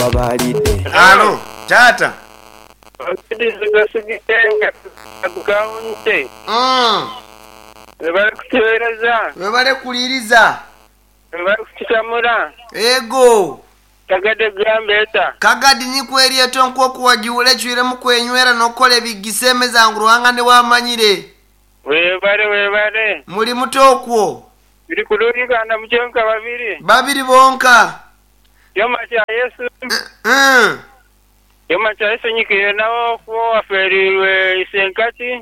Alo, taata. Webale kuwuliriza. Ego. Kagadi nikwo eryeto nk'oku wagiwula ecwiremu kwenywera n'okukola ebigisemeza ngu Ruhanga niwe amanyire. Webale webale. Muli muta okwo? Tuli kulungi kandi mukye nka babiri. Babiri bonka. Kyoma kya Yesu. Kyoma kya Yesu nyikire nawe okuba owafeereirwe isenkati.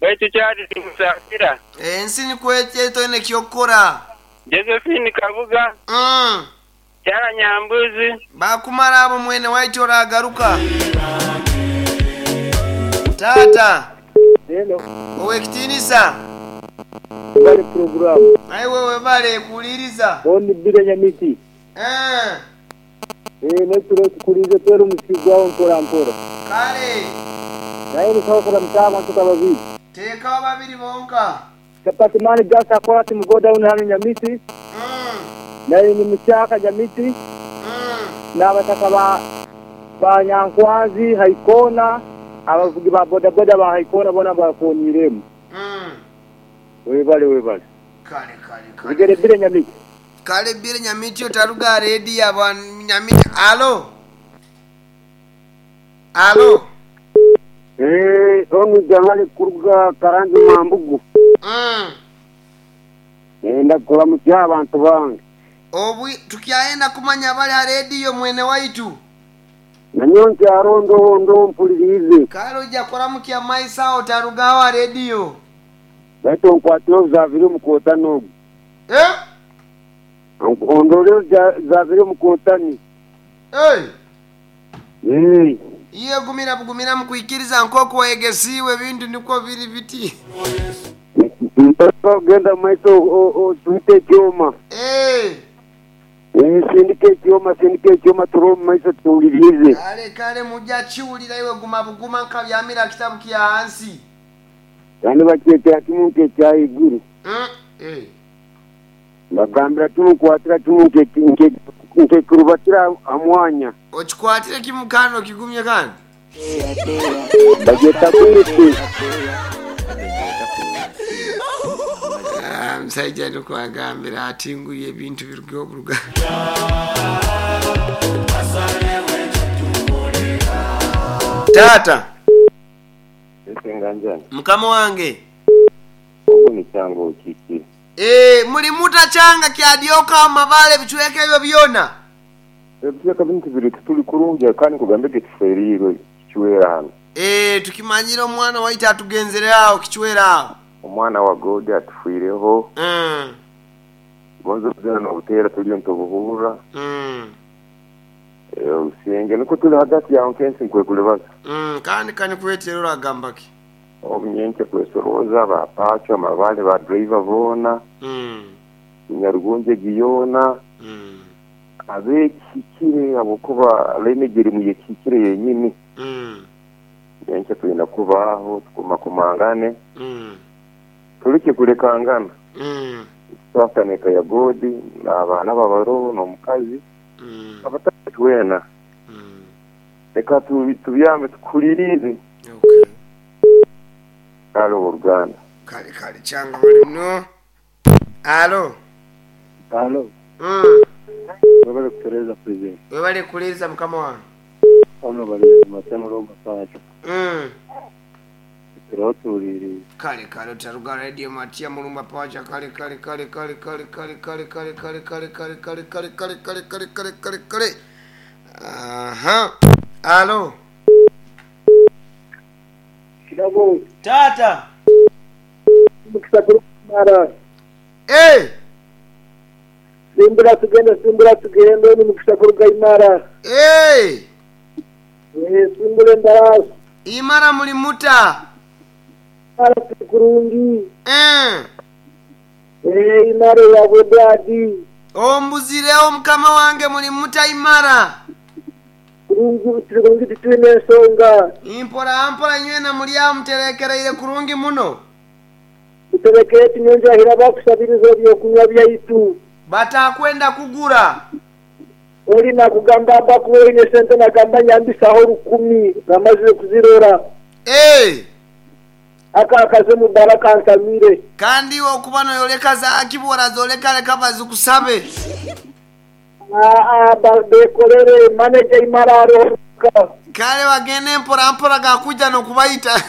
Baitu kyali timusaasira. Ensi nikwo etyo etoine eky'okukora. Josephine Kabuga. Kyara Nyambuzi. Baakumara abo mwene waitu oraagaruka. Taata. Hello. Ow'ekitiinisa. Webale puroguramu. Naiwe webale kuwuliriza. Hon Bire Nyamiti. Eeh. Eeh n'ekiro tukulinze twera omusiri gwawe mpora mpora. Kale. Naye nitusobola kuramukya abantu nka babiri. Teekaho babiri bonka. Chapati man just akora ati mu godown hanu Nyamiti. Naye ni mukyaka Nyamiti. N'abataka ba ba Nyankwanzi Haikoona, abavugi ba bodaboda ba Haikoona boona mbakooniiremu. Webale webale. Kale kale kale. Bigere Bire Nyamiti. Kale Bire Nyamiti otaruga aha rediyo aba Nyamiti. Alo. Alo. Eeh onu Jamali kuruga Karangi Mambugu. Nenda kuramutsya abantu bange. Obwi tukyayenda kumanya abali aha rediyo mwene waitu. Nanyowe nkyaro ndoho ndoho mpuririize. Kale oija kuramukya maiso aho otarugaho aha rediyo. Baitu onkwatire obu zaavire omu kootani ogu. Eh? Ondorere obu zaavire omu kootani. Hey! Eeh. Iwe gumira bugumira mu kwikiriza nk'oku wayegesiibwe ebintu nikwo biri biti. Mpaka ogenda mu maiso otwite ekyoma. Eeh. Eeh sindika ekyoma sindika ekyoma turole omu maiso tuwulirize. Kale kale muja kiwulira iwe guma buguma nkabyamira kitabu kya hansi. Kandi bakyetera kimu nk'ekyahaiguru. Eh. Mbagambira kimu nkwatira kimu nkekirubatira aha mwanya. Okikwatire kimu kandi okigumye kandi. Bagyeta bwete. Ah, omusaija nikwo agambira ati ngu ebintu biruga oburuga. Taata. Mukama wange. Ogwo ni Kyanga okiikire. Eeh, muli muta Kyanga kyadyoka awo mabale ebicweka ebyo byona? Ebicweka binu tibiri tituli kurungi kandi nkugambe ge tufeereirwe kicwera hanu. Eeh, tukimanyire omwana waitu atugenzere awo kicwera awo. Omwana wa God atufwireho. Gonza obuzina nobuteera turiyo nitubuhurra. Obusingye nikwo turi hagati yawe nk'ensi nkwekulibaza. Kandi kanikwetere oragamba ki? Obu nyenkya kwesorooza ba pacho, amabale, ba driver boona, Nyarugunja egi yoona, ab'ekihikire habw'okuba line egi erimu y'ekihikire yenyini. Nyenkya twine kubaho tukumakumangane, turekye kulekangana. Nitukwatana eka ya God n'abaana be abaroho n'omukazi, abataahi twena. Leka tubyame tukuhuliriize. Kale ow'oruganda. Kale kale kyanga bali muno. Alo. Alo. Webale kutereza president. Webale kuwuliriza mukama wange. Hano bali Matemo Roba Pacho. Turiho tuwuliriize. Kale kale otaruga radio Matia Mulumba Pacha kale kale kale kale kale kale kale kale kale kale kale kale kale kale kale kale kale kale kale aha alo. Kirabo. Taata. Omukisa gurikumara. Eh. Simbura tugende simbura tugende onu mukisa kuruga Imara. Eh. Eh, simbura embaraasi. Imara muli muta? Imara turi kurungi. Eh. Eh, Imara eya Bwedadi. Ombuzireho mukama wange muli muta Imara? Kurungi turi kurungi titwine ensonga. Mpora mpora inywena muri aho muterekereire kurungi muno. Tuterekeire tinyonjo ahira bakusabiriza ebyokunywa byaitu. Batakwenda kugura. Ori nakugamba aba kuba oine sente nagamba nyambisaho rukumi namazire kuzirora. Eh! Aka akaze omu bara kantamire. Kandi iwe okuba noyoreka zaakibora zoreka reka bazikusabe. Aa bekorere manager imara aroho. Kale bagende mpora mpora gakuja nokubaita.